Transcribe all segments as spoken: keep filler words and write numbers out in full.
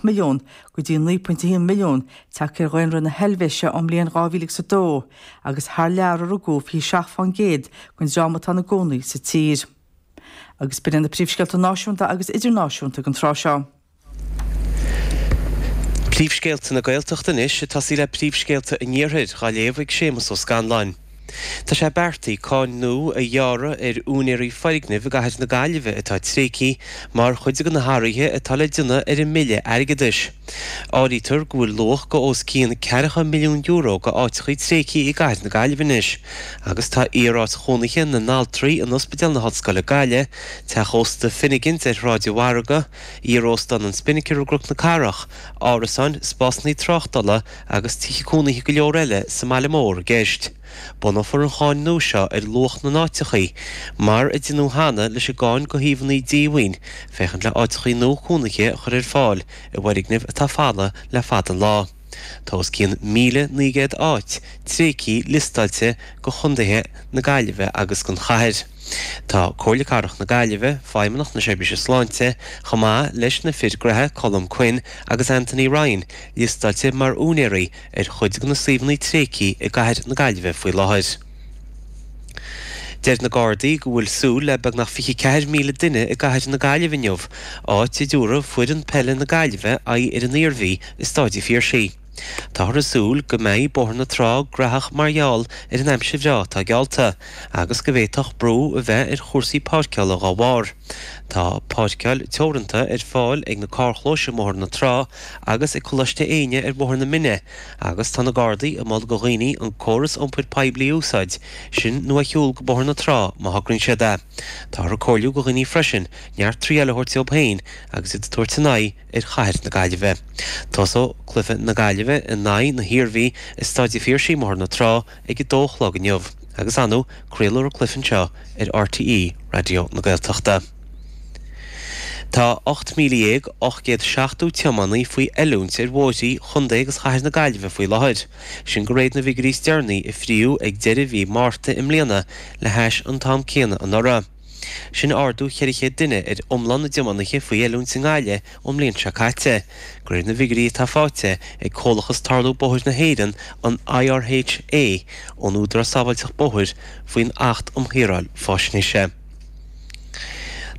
milliún go dtí naoi pointe haon milliún tagtha ar dhaonra na hEilvéise ón mbliain dhá mhíle agus a dó, agus thar lear a rugadh fiche seacht fán gcéad den dream atá ina gcónaí sa tír. Agus b'in na príomhscéalta náisiúnta agus idirnáisiúnta ag an tráth seo. Príomhscéalta na Gaeltachta anois ag tosaí le príomhscéalta an Iarthair á léamh ag Séamus Ó Scanláin. Tá sé beartaithe cáin nua a ghearradh ar úinéirí foirgnimh i gcathair na Gaillimhe atá tréigthe mar chuid de na hathruithe atá le déanamh ar an mBille Airgeadais. Áirítear go bhfuil luach go os cionn ceathracha milliún euro go áiteachaí tréigthe i gcathair na Gaillimhe anois, agus tá iaráit chónaithe na n-altraí in Ospidéal na hOllscoile Gaillimh, Teach Ósta Finnegan's ar Shráid an Mhargaidh, Iaróstán an Spinnaker i gCnoc na Cathrach, árasáin, spásanna tráchtála agus tithe cónaithe go leor eile sa mbaile mór i gceist. Bunófar an cháin nua seo ar luach na n-áiteachaí, mar a deineadh cheana leis an gcáin go shuíomhanna díomhaoin, féachaint le áiteachaí nua cónaithe a chur ar fáil i bhfoirgnimh atá folamh le fada an lá. Tá os cionn míle naoi gcéad áit tréigthe liostáilte go chontaetha na Gaillimhe agus don chathair. Tá Comhairle Cathrach na Gaillimhe, Feidhmeannacht na Seirbhíse Sláinte, chomh maith leis na fir gnaithe Colm Quinn agus Anthony Ryan, liostáilte mar úinéirí ar chuid de na suíomhanna tréigthe i gcathair na Gaillimhe faoi láthair. Deir na Gardaí go bhfuil súil le beagnach fiche ceathair míle duine i gcathair na Gaillimhe inniu, áit a dtabharfaidh foireann peile na Gaillimhe aghaidh ar an Iarmhí i Staid an Phiarsaigh. Táthar ag súil go mbeidh Bóthar na Trá graitheach mar gheall ar an aimsir bhreá atá geallta, agus go bhféadfadh brú a bheith ar chúrsaí páirceála dá bharr. Tá páirceáil teoranta ar fáil ag na carrchlóis i mBóthar na Trá agus ag Coláiste Éinne ar Bhóthar na Mine, agus tá na Gardaí ag moladh do dhaoine an córas iompair poiblí a úsáid, sin nó a shiúl go Bóthar na Trá má thograíonn siad é. Táthar ag comhairliú do dhaoine freisin neart triail a thabhairt dóibh féin agus iad ag tabhairt a n-aghaidh ar chathair na Gaillimhe. Tosóidh cluiche na Gaillimhe in aghaidh na hIarmhí i Staid an Phiarsaigh i mBóthar na Trá ag a dó a chlog inniu, agus ar ndóigh craolfar an cluiche anseo ar RTÉ Raidió na Gaeltachta. Tá ocht míle dhéag ocht gcéad seachtó tiománaí faoi oiliúint ar bhóithrí Chontae agus Chathair na Gaillimhe faoi láthair. Sin de réir na bhfigiúirí is deireanaí a fríodh ag deireadh mhí Márta i mbliana le hais an t-am céanna anuraidh. Sin ardú ceithre chéad duine ar iomlán na dtiománaithe faoi oiliúint i nGaillimh ón mbliain seo caite. De réir na bhfigiúirí atá faighte ag Comhlachas Tarlú Bóthair na hÉireann an IRHA ón Údarás Sábháilteacht Bóthair faoin Acht um Shaoráil Faisnéise.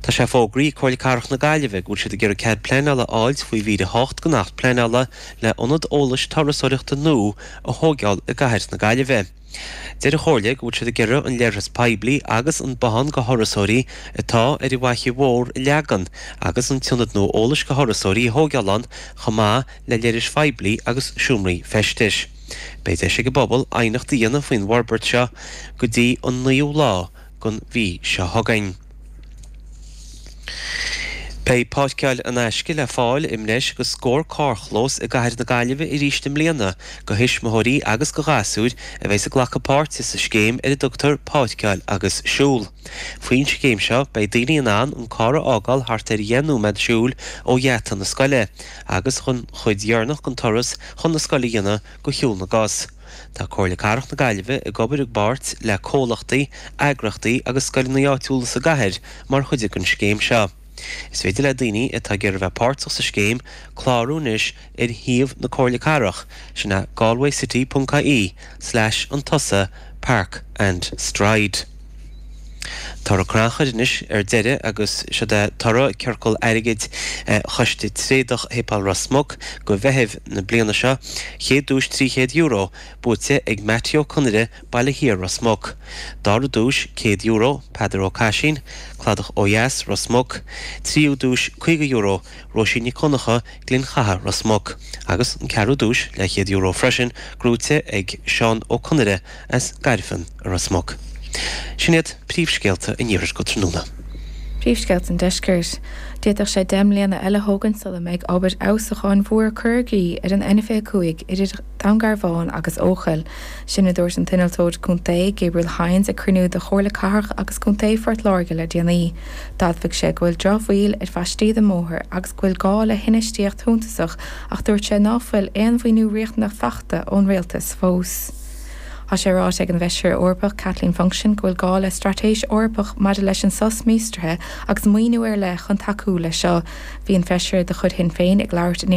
Tá sé fógraithe ag Comhairle Cathrach na Gaillimhe go bhfuil siad ag iarraidh cead pleanála a fháilt faoi mhír a hocht den Acht Pleanála le ionad eolais turasóireachta nua a thógáil i gcathair na Gaillimhe. Deir an Chomhairle go bhfuil siad ag iarraidh an leithreas poiblí agus an bothán go thurasóirí atá ar an bhFaiche Mhór a leagan agus an t-ionad nua eolais go thurasóirí a thógáil ann chomh maith le leithris phoiblí agus seomraí feistis. Beidh deis ag an bpobal aighneacht a dhéanamh faoin bhforbairt seo go dtí an naoú lá den mhí seo chugainn. Beidh páirceáil in aisce le fáil i mbreis agus scór carrchlós i gcathair na Gaillimhe arís i mbliana go thuismitheoirí agus go ghasúir a bheidh ag glacadh páirte sa scéim ar a dtugtar páirceáil agus siúl. Faoin scéim seo beidh daoine in ann an carr a fhágáil thart ar dheich nóiméad siúil ó gheata na scoile, agus chun chuid dheireanach den turas chun na scoile a dhéanamh go shiúl na gcos. Tá Comhairle Cathrach na Gaillimhe ag obair i bpáirt le comhlachtaí, eagraíochtaí agus scoileanna áitiúla sa gcathair mar chuid den scéim seo. Is féidir le daoine atá ag iarraidh bheith páirteach sa scéim clárú anois ar shuíomh na Comhairle Cathrach, sin é galwaycity.ie slash an tusa park and stride. Toradh crannchuir anois ar deireadh agus seo é toradh ciorcal airgid Choiste Tréadach Shéipéal Ros Muc go Mheitheamh na bliana seo, chéad duais trí chéad euro, buaite ag Matthew Ó Conaire, Baile Thiar Ros Muc. Dara duais céad euro, Peadar Ó Caisín, Cladach ó Dheas Ros Muc, tríú duais caoga euro, Róisín Nic Concha, Glinn Chatha Ros Muc, agus an ceathrú duais le chéad euro freisin, gnóthaithe ag Seán Ó Conaire as Gairfean Ros Muc. Sin iad príomhscéalta an iarthair go tráthnóna. Príomhscéalta an deiscirt. D'fhéadfadh sé deich mbliana eile thógaint sula mbeidh obair fheabhsúcháin mhór curtha i gcrích ar an N fiche cúig idir Dún Garbhán agus Eochaill. Sin a dúirt an t-innealtóir contae Gabriel Hynes ag cruinniú de Chomhairle Cathrach agus Contae Phort Láirge le déanaí. D'admhaigh sé go bhfuil drochbhail ar phaistí den mbóthar agus go bhfuil gá le hinfheistíocht shuntasach ach dúirt sé ná fuil aon mhaoiniú riachtanach faighte ón rialtas fós. Tá sé ráite ag an bhFeisire Eorpach Kathleen Funchion go bhfuil gá le straitéis Eorpach maidir leis an sos míostraithe agus maoiniú ar leith chun tacú leis seo. Bhí an feisire de chuid Shinn Féin ag labhairt in